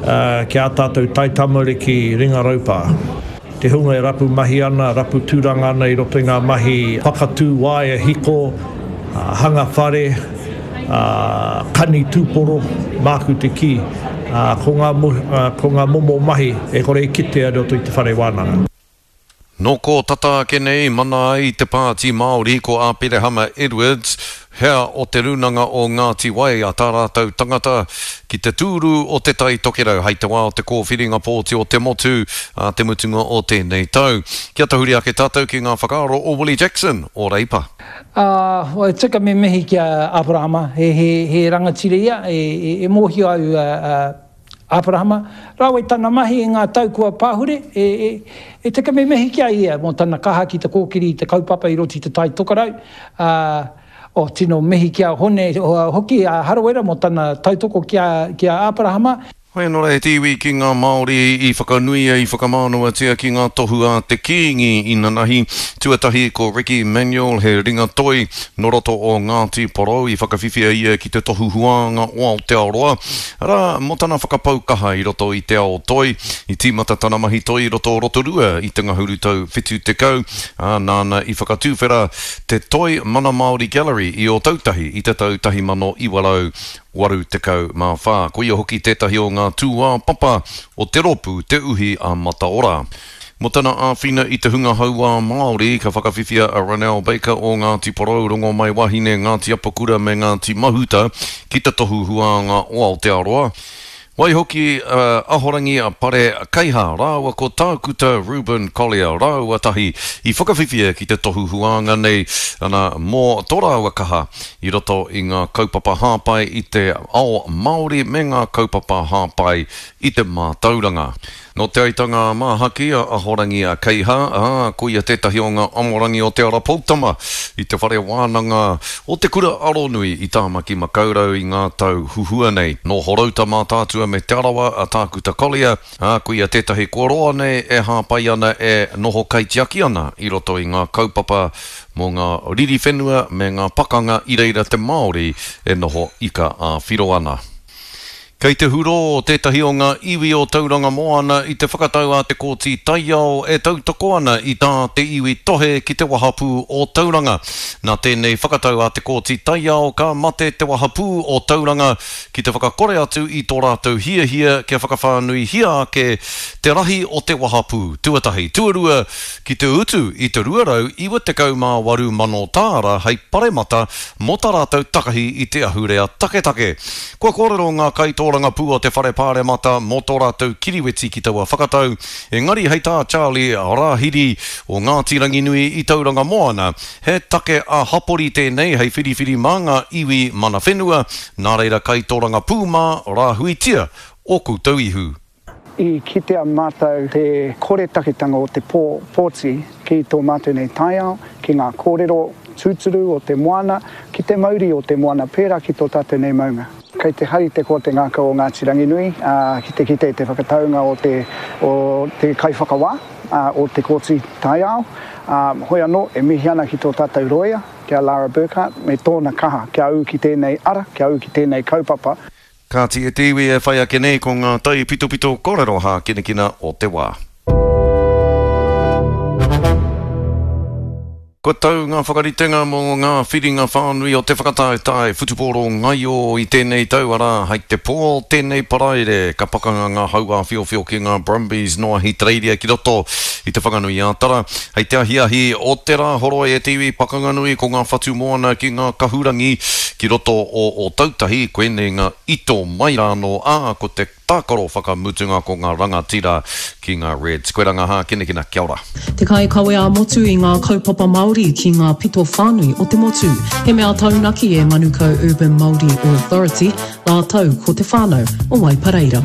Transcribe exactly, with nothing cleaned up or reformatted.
ki ā tātou taitamariki ringa raupā. Te hunga e rapu mahi ana, rapu tūranga ana i roto i ngā mahi whakatū waea hiko, hanga whare, kani tūporo, māku te kī, ko ngā, ko ngā momo mahi e kore e kitea i roto i te whare wānanga. Nō kō tata ake nei, mana ai te Pāti Māori ko Āperehama Edwards, hea o Te Rūnanga o Ngāti Wai a tā rātou tangata ki te tūru o Te Tai Tokerau hei te wā o te kōwhiringa pōti o te motu ā te mutunga o tēnei tau. Kia tahuri ake tātou ki ngā whakaaro o Willie Jackson o Reipa. Ā, e tika me mihi ki a Aperahama, he, he, he rangatira ia, e, e, e mōhio au a, a Aperahama, rāua i tana mahi i ngā tau kua pahure, e, e, e tika me mihi ki a ia mō tana kaha ki te kōkiri i te kaupapa i roto i te Tai Tokerau, ā, oh, tino mihi ki a Hone hoki a Harawira mō tana tautoko ki a, ki a Aperahama. Hoi anō rā e te iwi ki ngā Māori i whakanuia, i whakamānawatia ki ngā tohu a te Kīngi inanahi. Tuatahi ko Ricky Manuel, he ringa toi nō roto o Ngāti Porou, i whakawhiwhia ia ki te tohu huānga o Aotearoa, arā, mō tana whakapau kaha i roto i te ao toi. I tīmata tana mahi toi i roto o Rotorua i te ngahuru tau whitu tekau, ā, nāna i whakatuwhera te Toi Mana Māori Gallery i Ōtautahi i te tau tahi mano iwa rau waru tekau mā whā. Koia hoki tētahi o ngā tūāpapa o te rōpū Te Uhi a Mataora. Mō tana āwhina i te hunga hauā Māori, ka whakawhiwhia a Ronel Baker o Ngāti Porou, Rongomaiwahine, Ngāti Apakura me Ngāti Mahuta ki te Tohu Huānga o Aotearoa. Waihoki a Ahorangi Pare Keiha rāua ko Tākuta Reuben Collier rāua tahi i whakawhiwhia ki te tohu huānga nei, ana, mō tō rāua kaha i roto i ngā kaupapa hāpai i te ao Māori me ngā kaupapa hāpai i te mātauranga. Nō Te Aitanga a Māhaki a Ahorangi a Keiha, ā, ko ia tētahi o ngā amorangi o Te Ara Poutama i te whare wānanga o Te Kura Aronui i Tāmaki Makaurau i ngā tau huhua nei. Nō Horouta Mātaatua me Te Arawa a Tākuta Collier, ā, ko ia tētahi kua roa nei e hāpai ana e noho kaitiaki ana i roto i ngā kaupapa mō ngā riri whenua me ngā pakanga i reira te Māori e noho ika ā-whiro ana. Kei te hurō tētahi o ngā iwi o Tauranga Moana i te whakatau a te Kōti Taiao e tautoko ana i tā te iwi tohe ki te wahapū o Tauranga. Nā tēnei whakatau a te Kōti Taiao ka mate te wahapū o Tauranga ki te whakakore atu i tō rātou hiahia kia whakawhānuihia ake te rahi o te wahapū, tuatahi. Tuarua, ki te utu i te rua rau iwa tekau mā waru mano tāra hei paremata mō tā rātou takahi i te ahurea taketake. Kua kōrero ngā kaitōrangapū o te Whare Pāremata mō tō rātou kiriweti ki taua whakatau, engari hei tā Charlie Rāhiri o Ngāti Ranginui i Tauranga Moana, he take ā-hapori tēnei hei whiriwhiri mā ngā iwi mana whenua, nā reira kaitōrangapū mā, rāhuitia ō koutou ihu. I kitea mātou te koretaketanga o te pō, pōti ki tō mātou nei taiao, ki ngā kōrero tūturu o te moana, ki te mauri o te moana pērā ki tō tātou nei maunga. Kei te hari te koa te ngākau o Ngāti Ranginui ki te kite i te whakataunga o te, o te kaiwhakawā o te Kōti Taiao. Hoi anō, e mihi ana ki tō tātou rōia, ki a Lara Burkhart, me tōna kaha kia ū ki tēnei ara, kia ū ki tēnei kaupapa. Kāti e te iwi e whai ake nei ko ngā taipitopito kōrero hākinakina o te wā. Kua tau ngā whakaritenga mō ngā whiringa whānui o te whakataetae whutupōro ngaio i tēnei tau, arā, hei te pō o tēnei Paraire ka pakanga ngā hauāwhiowhio ki ngā Brumbies nō Ahitereiria ki roto i Te Whanganui-ā-Tara. Hei te ahiahi o te Rāhoroi e te iwi pakanga nui ko ngā whatu moana ki ngā kahurangi ki roto o Ōtautahi, koinei ngā ito mai rānō, ā, ko te tākaro whakamutunga ko ngā rangatira ki ngā Reds. Koirā ngā hākinakina, kia ora. Te kaikawe ā-motu i ngā kaupapa Māori ki ngā pito whānui o te motu. He mea taunaki e Manukau Urban Māori Authority rātou ko te whānau o Waipareira.